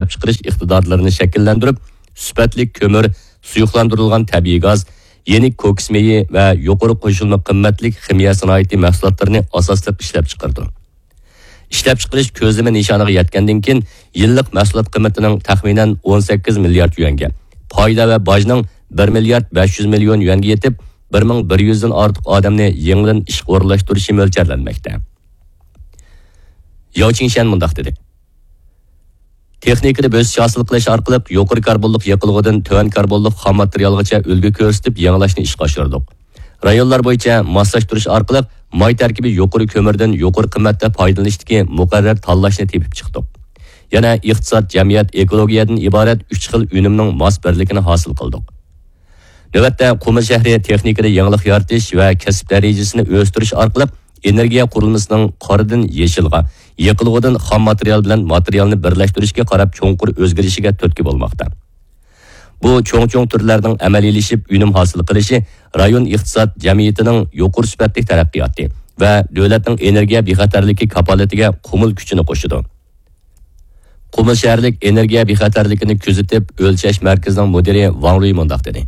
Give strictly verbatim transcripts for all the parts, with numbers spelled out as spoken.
ئىشلەپچىقىرىش ئىقتىدارلىرىنى شەكىللەندۈرۈپ، سۈپەتلىك كۆمۈر، سۇيۇقلاندۇرۇلغان تەبىئىي گاز، يېنىك كوكس مېيى ۋە يۇقىرى قوشۇلما قىممەتلىك خىمىيە سانائىتى مەھسۇلاتلىرىنى ئاساسلىق ئىشلەپچىقىرىدۇ. ئىشلەپچىقىرىش كۆزلىمە نىشانىغا يەتكەندىن كېيىن، يىللىق مەھسۇلات قىممىتىنىڭ تەخمىنەن ئون سەككىز مىليارد يۈەنگە، پايدا ۋە باجنىڭ بىر مىليارد بەش يۈز مىليون يۈەنگە يېتىپ، بىر مىڭ بىر يۈزدىن ئارتۇق ئادەمنى يېڭىدىن ئىشقا ئورۇنلاشتۇرۇشى مۆلچەرلەنمەكتە. ياۋ چىڭشيەن مۇنداق دېدى: تېخنىكىدا بۆسۈش ھاسىل قىلىش ئارقىلىق يۇقىرى كاربونلۇق يېقىلغۇدىن تۆۋەن كاربونلۇق خام ماتېرىيالغىچە ئۈلگە كۆرسىتىپ يېڭىلاشنى ئىشقا ئاشۇردۇق. رايونلار بويىچە ماسلاشتۇرۇش ئارقىلىق ماي تەركىبى يۇقىرى كۆمۈردىن يۇقىرى قىممەتتە پايدىلىنىشتىكى مۇقەررەر تاللاشنى تېپىپ چىقتۇق. يەنە ئىقتىساد، جەمئىيەت، ئېكولوگىيەدىن ئىبارەت ئۈچ خىل ئۈنۈمنىڭ ماس بىرلىكىنى ھاسىل قىلدۇق. نۆۋەتتە قۇمۇل شەھىرى تېخنىكىدا يېڭىلىق يارىتىش ۋە كەسىپ دەرىجىسىنى ئۆستۈرۈش ئارقىلىق ئېنېرگىيە قۇرۇلمىسىنىڭ قارىدىن يېشىلغا، يېقىلغۇدىن خام ماتېرىيال بىلەن ماتېرىيالنى بىرلەشتۈرۈشكە قاراپ چوڭقۇر ئۆزگىرىشىگە تۈرتكە بولماقتا. بۇ چوڭ-چوڭ تۈرلەرنىڭ ئەمەلىيلىشىپ ئۈنۈم ھاسىل قىلىشى رايون ئىقتىساد جەمئىيىتىنىڭ يۇقىرى سۈپەتلىك تەرەققىياتى ۋە دۆلەتنىڭ ئېنېرگىيە بىخەتەرلىكى كاپالىتىگە قۇمۇل كۈچىنى قوشىدۇ. قۇمۇل شەھەرلىك ئېنېرگىيە بىخەتەرلىكىنى كۆزىتىپ ئۆلچەش مەركىزىنىڭ مۇدىرى ۋاڭ رۇي مۇنداق دېدى: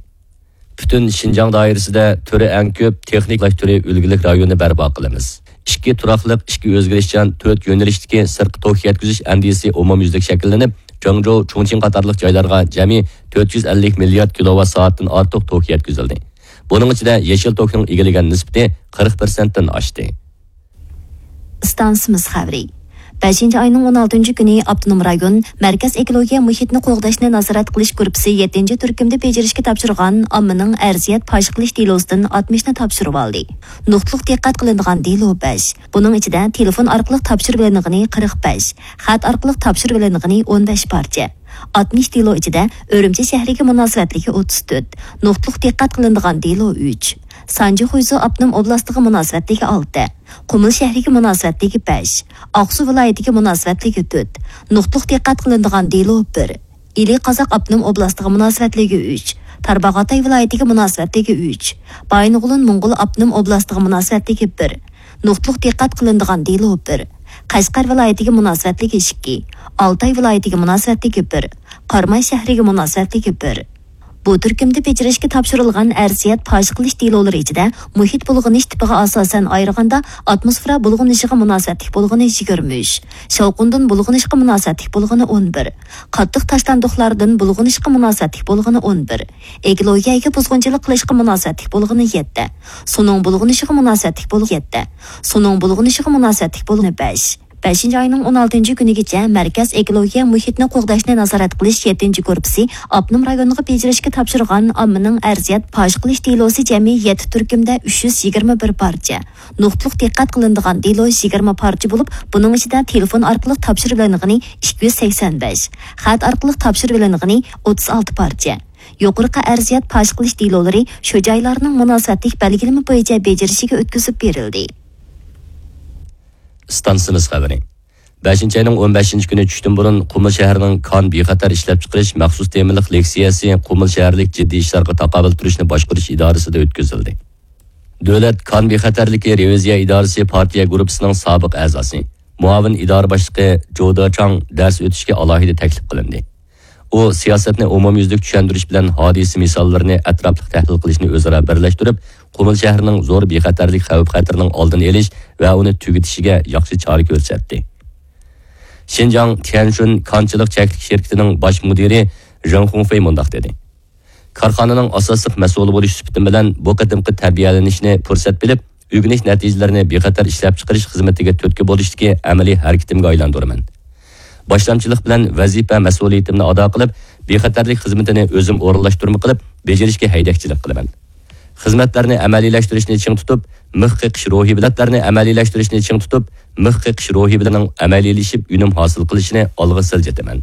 پۈتۈن شىنجاڭ دائىرىسىدە تۈرى ئەڭ كۆپ تېخنىكىلاش تۈرى ئۈلگىلىك رايونى بەرپا قىلىمىز. ئىككى تۇراقلىق، ئىككى ئۆزگىرىشچان، تۆت يۆنىلىشتىكى سىرتقا توك يەتكۈزۈش ئەندىزىسى ئومۇميۈزلۈك شەكىللىنىپ، جاڭجۇ، چۇڭچىڭ قاتارلىق جايلارغا جەمئىي تۆت يۈز ئەللىك مىليارد كىلوۋات سائەتتىن ئارتۇق توك يەتكۈزۈلدى. بۇنىڭ ئىچىدە يېشىل توكنىڭ ئىگىلىگەن نىسبىتى قىرىق پىرسەنتتىن ئاشتى. ئىستانسىمىز خەۋىرى. بەشىنچى ئاينىڭ ئون ئالتىنچى كۈنى ئاپتونوم رايون مەركەز ئېكولوگىيە مۇھىتنى قوغداشنى نازارەت قىلىش گۇرۇپپىسى يەتتىنچى تۈركۈمدە بېجىرىشكە تاپشۇرغان ئاممىنىڭ ئەرزىيەت پاش قىلىش دېلوسىدىن ئاتمىشنى تاپشۇرۇۋالدى. نۇقتىلىق دىققەت قىلىنىدىغان دېلو بەش. بۇنىڭ ئىچىدە تېلېفون ئارقىلىق تاپشۇرۇۋېلىنغىنى قىرىق بەش، خەت ئارقىلىق تاپشۇرۇۋېلىنغىنى ئون بەش پارچە. ئاتمىش دېلو ئىچىدە ئۈرۈمچى شەھىرىگە مۇناسىۋەتلىكى ئوتتۇز تۆت، نۇقتىلىق دىققەت قىلىنىدىغان دېلو ئۈچ، سانجى خۇيزۇ ئاپتونوم ئوبلاستىغا مۇناسىۋەتلىكى ئالتە، قۇمۇل شەھىرىگە مۇناسىۋەتلىكى بەش، ئاقسۇ ۋىلايىتىگە مۇناسىۋەتلىكى تۆت، نۇقتىلىق دىققەت قىلىنىدىغان دېلو بىر، ئىلى قازاق ئاپتونوم ئوبلاستىغا مۇناسىۋەتلىكى ئۈچ، تارباغاتاي ۋىلايىتىگە مۇناسىۋەتلىكى ئۈچ، بايىنغولىن موڭغۇل ئاپتونوم ئوبلاستىغا مۇناسىۋەتلىكى بىر، نۇقتىلىق دىققەت قىلىنىدىغان دېلو بىر، قەشقەر ۋىلايىتىگە مۇناسىۋەتلىك ئىككى، ئالتاي ۋىلايىتىگە مۇناسىۋەتلىكى بىر، قاراماي شەھىرىگە مۇناسىۋەتلىكى بىر. بۇ تۈركۈمدە بېجىرىشكە تاپشۇرۇلغان ئەرزىيەت پاش قىلىش دېلولىرى ئىچىدە مۇھىت بۇلغىنىش تىپىغا ئاساسەن ئايرىغاندا، ئاتموسفېرا بۇلغىنىشىغا مۇناسىۋەتلىك بولغىنى يىگىرمە ئۈچ، شاۋقۇندىن بۇلغىنىشقا مۇناسىۋەتلىك بولغىنى ئون بىر، قاتتىق تاشلاندۇقلاردىن بۇلغىنىشقا مۇناسىۋەتلىك بولغىنى ئون بىر، ئېكولوگىيەگە بۇزغۇنچىلىق قىلىشقا مۇناسىۋەتلىك بولغىنى يەتتە، سۇنىڭ بۇلغىنىشىغا مۇناسىۋەتلىك بولغىنى يەتتە، سۇنىڭ بۇلغىنىشىغا مۇناسىۋەتلىك بولغىنى بەش. بەشىنچى ئاينىڭ ئون ئالتىنچى كۈنىگىچە مەركەز ئېكولوگىيە مۇھىتنى قوغداشنى نازارەت قىلىش يەتتىنچى گۇرۇپپىسى ئاپتونوم رايونىغا بېجىرىشكە تاپشۇرغان ئاممىنىڭ ئەرزىيەت پاش قىلىش دېلوسى جەمئىي يەتتە تۈركۈمدە ئۈچ يۈز يىگىرمە بىر پارچە، نۇقتىلىق دىققەت قىلىنىدىغان دېلو يىگىرمە پارچە بولۇپ، بۇنىڭ ئىچىدە تېلېفون ئارقىلىق تاپشۇرۇۋېلىنغىنى ئىككى يۈز سەكسەن بەش، خەت ئارقىلىق تاپشۇرۇۋېلىنغىنى ئوتتۇز ئالتە پارچە. يۇقىرىقى ئەرزىيەت پاش قىلىش دېلولىرى شۇ جايلارنىڭ مۇناسىۋەتلىك بەلگىلىمە بويىچە بېجىرىشىگە ئۆتكۈزۈپ بېرىلدى. ئىستانسىمىز خەۋىرى. بەشىنچى ئاينىڭ ئون بەشىنچى كۈنى چۈشتىن بۇرۇن قۇمۇل شەھىرىنىڭ كان بىخەتەر ئىشلەپچىقىرىش مەخسۇس تېمىلىق لېكسىيەسى قۇمۇل شەھەرلىك جىددىي ئىشلارغا تاقابىل تۇرۇشنى باشقۇرۇش ئىدارىسىدا ئۆتكۈزۈلدى. دۆلەت كان بىخەتەرلىكى رېۋىزىيە ئىدارىسى پارتىيە گۇرۇپپىسىنىڭ سابىق ئەزاسى، مۇئاۋىن ئىدارە باشلىقى جودا چاڭ دەرس ئۆتۈشكە ئالاھىدە تەكلىپ قىلىندى. ئۇ سىياسەتنى ئومۇميۈزلۈك چۈشەندۈرۈش بىلەن ھادىسە مىساللىرىنى ئەتراپلىق تەھلىل قىلىشنى ئۆزئارا بىرلەشتۈرۈپ، قۇمۇل شەھىرىنىڭ زور بىخەتەرلىك خەۋپ-خەتىرىنىڭ ئالدىنى ئېلىش ۋە ئۇنى تۈگىتىشىگە ياخشى چارە كۆرسەتتى. شىنجاڭ تيەنشۇن كانچىلىق چەكلىك شىركىتىنىڭ باش مۇدىرى ژېڭ خۇڭفېي مۇنداق دېدى: كارخانىنىڭ ئاساسلىق مەسئۇلى بولۇش سۈپىتىم بىلەن بۇ قېتىمقى تەربىيەلىنىشنى پۇرسەت بىلىپ، ئۆگىنىش نەتىجىلىرىنى بىخەتەر ئىشلەپچىقىرىش خىزمىتىگە تۈرتكە بولۇشتىكى ئەمەلىي ھەرىكىتىمگە ئايلاندۇرىمەن. باشلامچىلىق بىلەن ۋەزىپە مەسئۇلىيىتىمنى ئادا قىلىپ، بىخەتەرلىك خىزمىتىنى ئۆزۈم ئورۇنلاشتۇرما قىلىپ، بېجىرىشكە ھەيدەكچىلىك قىلىمەن. خىزمەتلەرنى ئەمەلىيلەشتۈرۈشنى چىڭ تۇتۇپ، مىخ قېقىش روھى بىلەنلەرنى ئەمەلىيلەشتۈرۈشنى چىڭ تۇتۇپ، مىخ قېقىش روھى بىلەن ئەمەلىيلىشىپ ئۈنۈم ھاسىل قىلىشىنى ئالغا سىلجىتىمەن.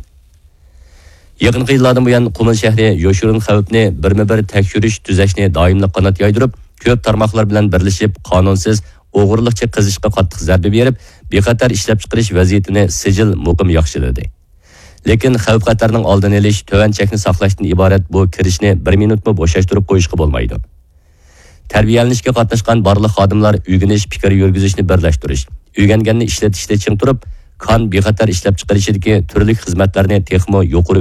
يېقىنقى يىللاردىن بۇيان، قۇمۇل شەھىرى يوشۇرۇن خەۋپنى بىرمۇ بىر تەكشۈرۈش، تۈزەشنى دائىملىق قانات يايدۇرۇپ، كۆپ تارماقلار بىلەن بىرلىشىپ، قانۇنسىز، ئوغرىلىقچە قېزىشقا قاتتىق زەربە بېرىپ، بىخەتەر ئىشلەپچىقىرىش ۋەزىيىتىنى سىجىل مۇقىم ياخشىلىدى. لېكىن خەۋپ-خەتەرنىڭ ئالدىنى ئېلىش، تۆۋەن چەكنى ساقلاشتىن ئىبارەت بۇ كىرىشنى بىر مىنۇتمۇ بوشاشتۇرۇپ قويۇشقا بولمايدۇ. تەربىيەلىنىشكە قاتناشقان بارلىق خادىملار ئۆگىنىش، پىكىر يۈرگۈزۈشنى بىرلەشتۈرۈش، ئۆگەنگەننى ئىشلىتىشتە چىڭ تۇرۇپ، كان بىخەتەر ئىشلەپچىقىرىشىدىكى تۈرلۈك خىزمەتلەرنى تېخىمۇ يۇقىرى